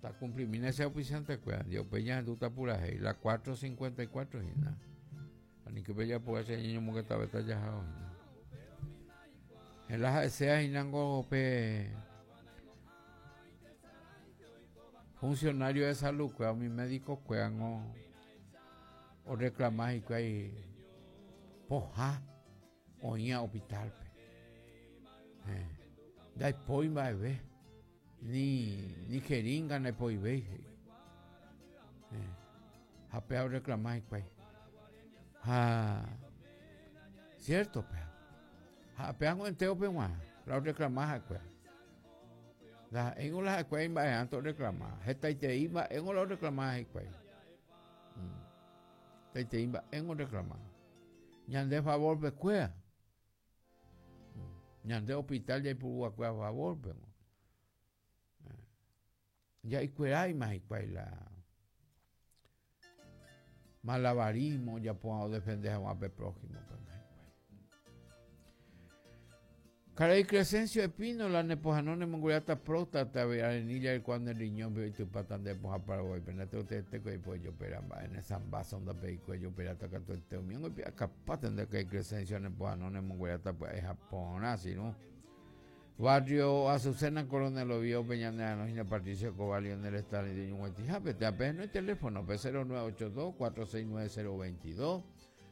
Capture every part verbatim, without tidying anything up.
Tacumplimína ese auspiciante kuéra upe ñahendúta purahéi la cuatro cincuenta y cuatro hína. Aníke pejapo che ñañomongetavéta jahávo hína. La ha'eséa hínango pe funcionario de salud kuéra umi médico kuérango oreclama hikuái pohã oĩva hospital-pe. Eh, ndaipói mba'eve ni, ni jeringa ndaipoivéi he'i. Eh, ha péa oreclama hikuái. Ha cierto péa. Ha péango entérope g̃uarã la oreclama ha'ekuéra. Ndaha'éingo la ha'ekuéra imba'erãnte oreclama. Hetaiterei mba'éngo la oreclama hikuái. Mm. Hetaiterei mba'éngo oreclama. Ñande favorpe kuéra. Mm. Ñande hospital jaipurúva favorpe. Jaikueráima hikuái la malabarismo ojapóva odefende hag̃ua pe prójimo pe hikuái. Karai Crescencio Espínola nepohãno nemongueráta próstata arenilla rekuaa riñón pe oitypáta nde pohã Paraguáipe ndateotete oipojopera mba'e ne zambazo ndapeikue ojoperáta katuete umi oipe'akapáta nde karai Crescencio nepohãno nemongueráta pya'e ha porã sirũ. Barrio Azucena Coronel Oviedo Peña hína Patricio Cobalio en el estado de Ñuguetijápe te no hay teléfono pe cero nueve ocho dos cuatro seis nueve cero veintidós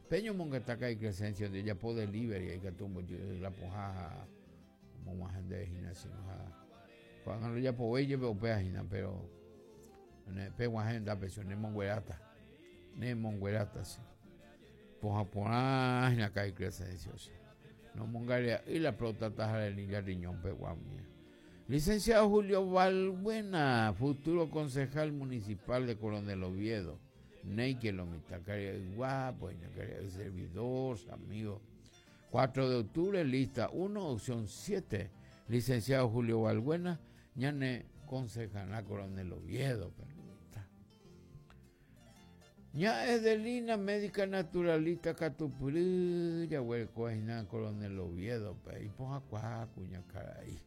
Peñomongeta karai Crescencio de ojapo delivery ikatu ombojy la pohã omog̃uahẽ ndéve hína sino ha ko'ág̃a rojapovéi jepe upéva hína pero peg̃uahẽ hendápe si nemongueráta nemongueráta si pohã porã hína karai Crescencio si nomongarea'ỹ la próstata ha arenilla riñón pegua umía. Licenciado Julio Balbuena, futuro concejal municipal de Coronel Oviedo. Neike lo mitad, guapo, servidor, amigo. cuatro de octubre, lista uno, opción siete. Licenciado Julio Balbuena, ñane concejal Coronel Oviedo. Ña Edelina, médica naturalista katupyry, jaguereko hína Coronel Oviedo, pe ipohãkuaa kuñakarai.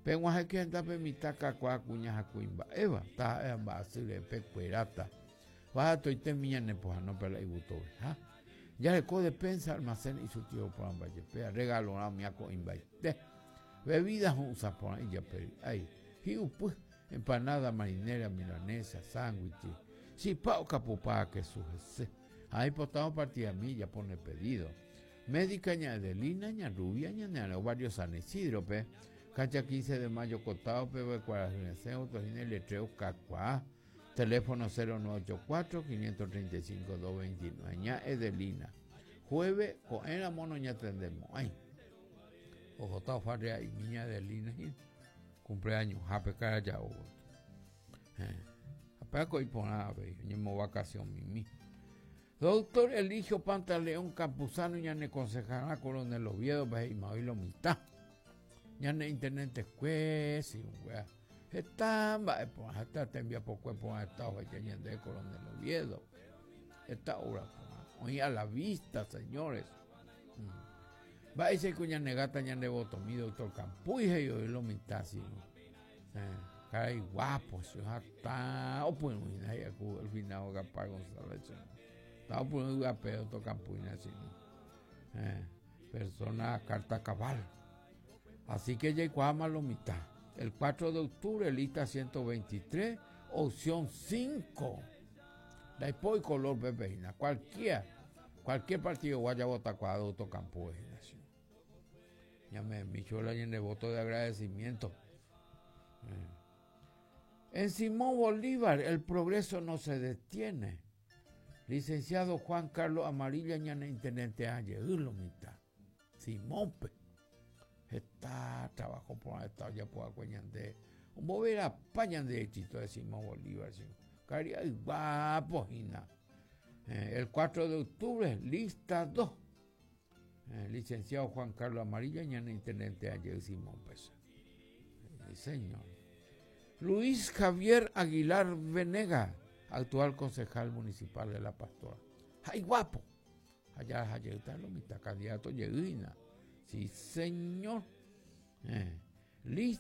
Peg̃uahẽke hendápe mitã kakuaa kuña ha kuimba'éva, taha'e mba'asy pekueráta. Vahatoitemi ñanepohãno pe la igutoveha. Jareko despensa, almacén isurtido porã mba'ejepéa, regalorã umi ako'imbaite. Bebida ho'ysã porã ijapery'ái, hi'upy, empanada marinera, milanesa, sándwich, chipa okapupa kesu hese. Ha ipotavo partida milla pone pedido. Médica ña Edelina, ña Rubia, ña Neareo, barrio San Isidro, pe. Cancha quince de mayo, Cotao, pe, Cuarahyresẽ, Otojina, Letreo, Cacuá. Teléfono cero nueve ocho cuatro, quinientos treinta y cinco, dos veintinueve. Ña Edelina. Jueves, ko'ẽra mono ñatendemos. Ay. Ojota farrea y niña Edelina. Cumpleaños, jape cara ya. Eh. Apenas por nada, ñemo vacación mimi. Doctor Eligio Pantaleón Campuzano, ñane concejala Coronel Oviedo, ve y lo mitad. Ñane intendente juez y un wea. Está, va, pues, hasta te envía por cuerpo a esta hoja, ñande Coronel Oviedo. Esta obra, pues, hoy a la vista, señores. Mm. Va ese cuña negata ñande voto mi doctor Campuy, y hoy lo mitad, sí, ¿no? Eh, caray guapo, si está, o pues, no, y al final, Gaspar González, ¿no? Está, pues, no, guapo, doctor Campuy, así, ¿no? Eh, persona carta cabal. Así que ya igual lo mitad. El cuatro de octubre, lista ciento veintitrés, opción cinco. La y color pepeina. Cualquier, cualquier partido vaya a votar cuadro doctor Campuy. Ya me micho la de voto de agradecimiento. Eh. En Simón Bolívar, el progreso no se detiene. Licenciado Juan Carlos Amarilla, ñane intendente ayer, lo mitad. Simón pe. Está trabajo por esta ya por acuñante. Un bobera pañan de éxito de Simón Bolívar. Caría guapo, Gina. Eh, el cuatro de octubre, lista dos. Eh, licenciado Juan Carlos Amarilla, ñane intendente ayer Simón Pesa. Sí, señor. Luis Javier Aguilar Venega, actual concejal municipal de La Pastora. ¡Ay, guapo! Allá, allá está lo mitad, candidato Yeguina. Sí, señor. Eh, listo.